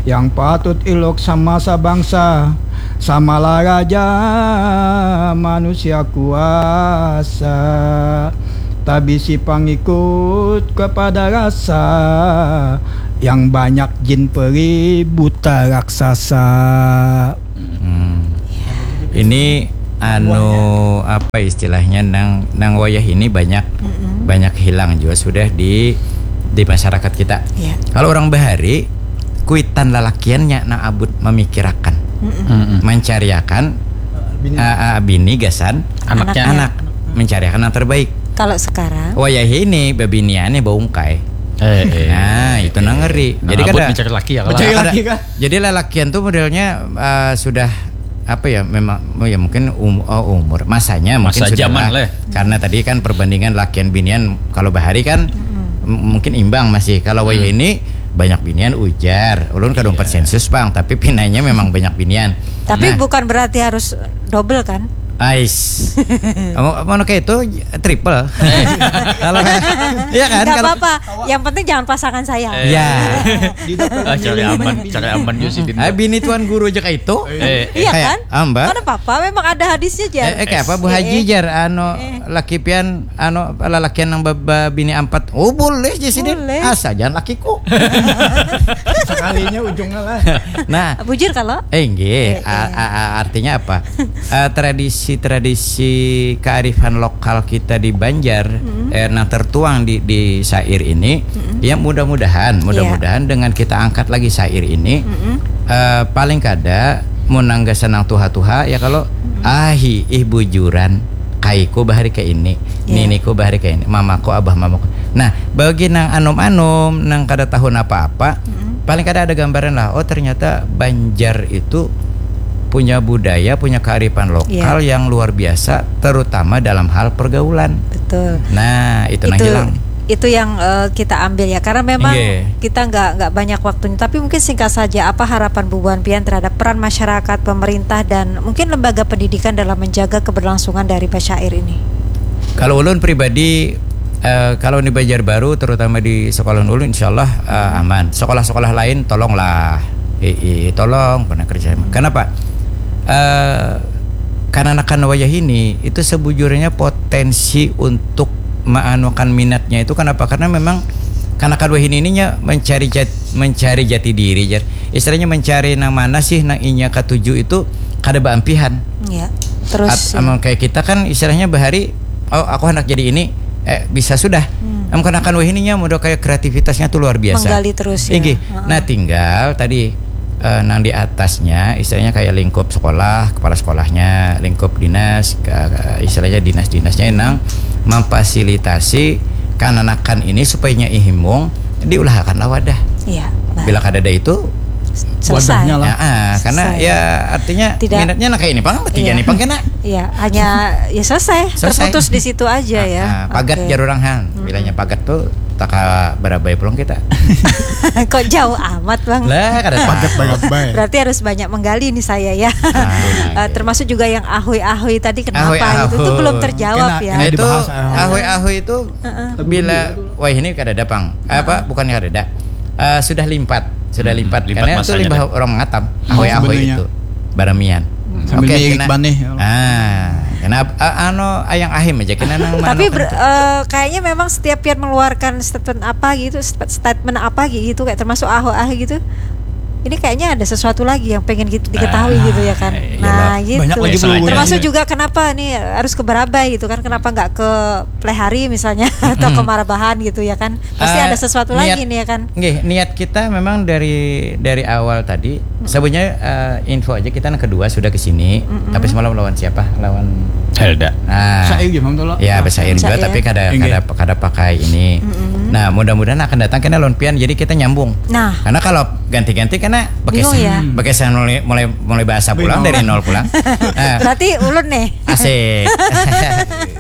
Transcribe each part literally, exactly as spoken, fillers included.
Yang patut iluk sama sabangsa, samalah raja manusia kuasa. Tabisi pangikut kepada rasa, yang banyak jin peri buta raksasa. Hmm. Ini anu apa istilahnya nang nang wayah ini banyak Mm-mm. banyak hilang juga sudah di di masyarakat kita. Ya. Kalau orang bahari kuitan lalakiannya nang abut memikirakan, Mm-mm. Mm-mm. mencariakan Bini. ah, ah, bini gasan Anaknya. anak, mencariakan yang terbaik. Kalau sekarang Wayah ini bebiniannya baungkai. Eh, eh. Nah, itu nang ngeri. Nah, Jadi abut kada mencari laki ya, mencari kalau laki Kada- kan? Jadi lalakian tuh modelnya eh, sudah apa ya memang oh ya mungkin um, oh, umur masanya mungkin Masa sudah zaman lah. Lah. Karena tadi kan perbandingan lakian binian kalau bahari kan m- mungkin imbang masih kalau wayah ini banyak binian ujar ulun kadung Iya. persensus bang tapi pinanya memang banyak binian. Tapi Nah, bukan berarti harus double kan? Ais. Mau mau kayak itu triple. Kalau iya kan Gak kalau apa-apa. Yang penting jangan pasangan saya. Ya. Di dokter Ah, cari Yuli aman, mah cari aman juga sih. Ah, bini tuan guru aja kayak itu. Eh, Iya Kayak, kan? ah, Mbak. Mana papa memang ada hadisnya jar. Eh, eh, kayak apa Bu Eh, Haji eh. jar anu Eh. laki pian anu lalakian nang baba bini empat. Oh, boleh aja sih Din. Boleh. Asal jangan lakiku. Sekalinya ujungnya lah. Nah, Bujur kalau? eh nggih, Eh, a- eh. a- a- artinya apa? Eh, tradisi-tradisi kearifan lokal kita di Banjar eh, nang tertuang di di syair ini ya mudah-mudahan mudah-mudahan dengan kita angkat lagi syair ini eh, paling kada mun nang gasan nang tuha-tuha ya kalau ahi ih bujuran kaiku bahari ke ini Iya. niniku bahari ke ini mamaku abah mamaku nah bagi nang anum-anum nang kada tahu apa-apa paling kada ada gambaran lah oh ternyata Banjar itu punya budaya punya kearifan lokal Iya. yang luar biasa terutama dalam hal pergaulan Betul. nah itu nang itu hilang itu yang eh, kita ambil ya karena memang Nggih. kita nggak nggak banyak waktunya tapi mungkin singkat saja apa harapan bubuhan pian terhadap peran masyarakat pemerintah dan mungkin lembaga pendidikan dalam menjaga keberlangsungan dari basyair ini Kalau ulun pribadi, eh, kalau di Banjarbaru, terutama di sekolah ulun, insya Allah eh, aman. Sekolah-sekolah lain, tolonglah, i, i, tolong pernah kerja. Kenapa? Eh, kananakan wayah ini itu sebujurnya potensi untuk maanukan minatnya itu kenapa? Karena memang kanakan wayah ini ininya mencari jat, mencari jati diri, jar. Istilahnya mencari nang mana sih nang inya katuju itu kada baampihan. Ya. Terus At- amun kayak kita kan istilahnya bahari oh aku hendak jadi ini eh bisa sudah Hmm. amun kanakan wahininya modal kayak kreativitasnya tuh luar biasa Menggali terus ya. Inggih. Heeh. Nah tinggal tadi eh, nang di atasnya istilahnya kayak lingkup sekolah kepala sekolahnya lingkup dinas ke- ke- istilahnya dinas-dinasnya nang memfasilitasi kananakan ini supaya nya ihimung diulahakanlah wadah Iya. Nah, bila kadada itu selesai. wadahnya lah. ya, ah, karena Selesai. Ya artinya Tidak. Minatnya nah kayak ini pang tiga Iya. nih pang kena Iya, hanya ya selesai, Selesai. Terputus di situ aja ya. Ah, pagat Oke. Jar urang han bilanya pagat tuh taka barabai pulang kita Kok jauh amat bang? lah kada pagat Barabai. Berarti harus banyak menggali nih saya ya. Ah, Eh, termasuk juga yang ahui-ahui tadi kenapa Ahui-ahui. gitu itu belum terjawab Kena- ya. kena itu dibahas, ah. Ahui-ahui itu Heeh. bila wah ini kada ada pang apa bukannya kada ada Eh, sudah limpat sudah limpat Limpat karena itu masanya limbah deh. Orang ngatam ahui-ahui Sebenarnya. Itu baramian Sambil Oke, niik kena- banih. ah kena ah, anu ayang ahim aja kena nang Tapi anu ber- kan. Eh, kayaknya memang setiap pian mengeluarkan statement apa gitu, st- statement apa gitu kayak termasuk aho ah gitu. Ini kayaknya ada sesuatu lagi yang pengen gitu, diketahui Ah, gitu ya kan. iya, Nah, Bang. gitu. Banyak lagi Biasa bulu aja. Termasuk ini. Juga kenapa nih harus ke Barabai gitu kan? Kenapa nggak ke Plehari misalnya atau ke Marabahan gitu ya kan? Pasti Eh, ada sesuatu niat- lagi nih ya kan? Nggih, niat kita memang dari dari awal tadi. Sebenarnya eh, info aja kita yang kedua sudah ke sini, tapi semalam lawan siapa? Lawan Helda. Nah, Saya gimana tuh lo? Ya, bersair juga Bersair. tapi kada Inggih. kada kada pakai ini. Nah, mudah-mudahan akan datang kena lawan pian jadi kita nyambung. Nah. Karena kalau ganti-ganti kena Bingung ya? Bekesan mulai mulai mulai bahasa pulang Bingung. Dari nol pulang. Nah, Berarti ulun nih. Asik.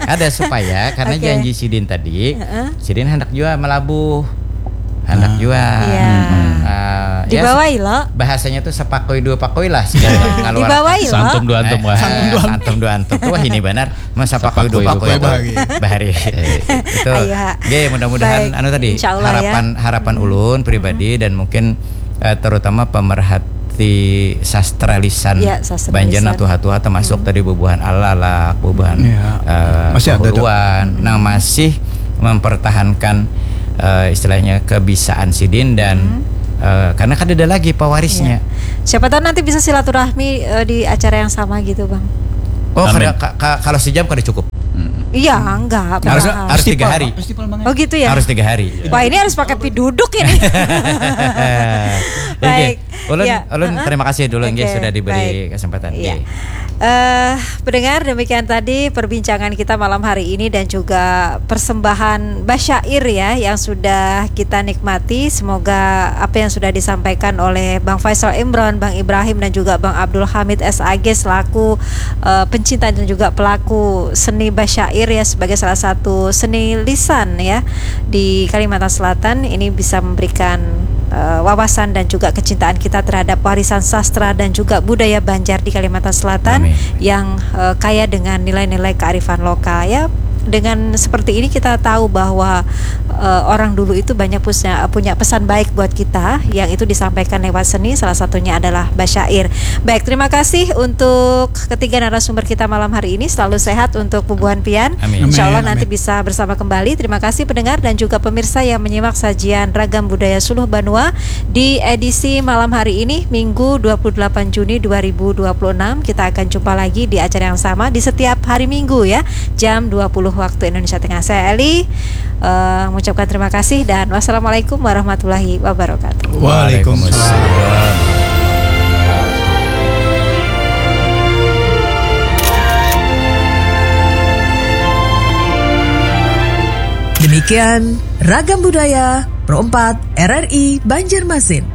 Ada supaya karena Oke. Janji sidin tadi, sidin hendak juga melabuh. Hendak juga. Iya. Ah, ya, Dibawai lo. Bahasanya tuh sepakoi dua pakoi lah sekali ngeluar. Dibawai lo. Santum dua antum Eh, wah. eh, Santum dua antum tuh wah ini benar. Masa pakoi dua Sepakoi pakoi dua apa? Bahari. Bahari. Itu. Ayo, ha. Oke, mudah-mudahan Baik. anu tadi Insya Allah, ya. harapan harapan ulun pribadi dan mungkin eh, terutama pemerhati sastra lisan. Ya, sastra Banjar lisan. Nah, tuha-tuha termasuk hmm. tadi bubuhan Alalak, bubuhan ya. Eh, masih ada tuh. Nah, masih mempertahankan uh, istilahnya kebisaan sidin dan hmm. uh, karena kan ada lagi pewarisnya. Ya. Siapa tahu nanti bisa silaturahmi uh, di acara yang sama gitu, Bang. Oh, kada, ka, ka, kalau sejam kada cukup. Hmm. Iya, enggak. Harus, harus tiga hari. Oh gitu ya. Harus tiga hari. Wah, ini harus pakai piduduk ini. Baik. Ulun, ya. Ulun uh-huh. Terima kasih dulu okay. Sudah diberi baik. Kesempatan. Ya. Uh, pendengar, demikian tadi perbincangan kita malam hari ini dan juga persembahan basyair ya yang sudah kita nikmati. Semoga apa yang sudah disampaikan oleh Bang Faisal Imron, Bang Ibrahim dan juga Bang Abdul Hamid S A G selaku uh, pencinta dan juga pelaku seni basyair ya sebagai salah satu seni lisan ya di Kalimantan Selatan ini bisa memberikan uh, wawasan dan juga kecintaan kita terhadap warisan sastra dan juga budaya Banjar di Kalimantan Selatan Amin. Yang uh, kaya dengan nilai-nilai kearifan lokal ya. Dengan seperti ini kita tahu bahwa uh, orang dulu itu banyak punya, punya pesan baik buat kita yang itu disampaikan lewat seni, salah satunya adalah basyair. Baik, terima kasih untuk ketiga narasumber kita malam hari ini. Selalu sehat untuk bubuhan pian. Amin. Insya Allah nanti bisa bersama kembali. Terima kasih pendengar dan juga pemirsa yang menyimak sajian Ragam Budaya Suluh Banua di edisi malam hari ini, Minggu dua puluh delapan Juni dua ribu dua puluh enam. Kita akan jumpa lagi di acara yang sama di setiap hari Minggu ya, jam dua puluh waktu Indonesia Tengah. Saya Eli, uh, mengucapkan terima kasih dan wassalamualaikum warahmatullahi wabarakatuh. Waalaikumsalam. Demikian Ragam Budaya Pro empat R R I Banjarmasin.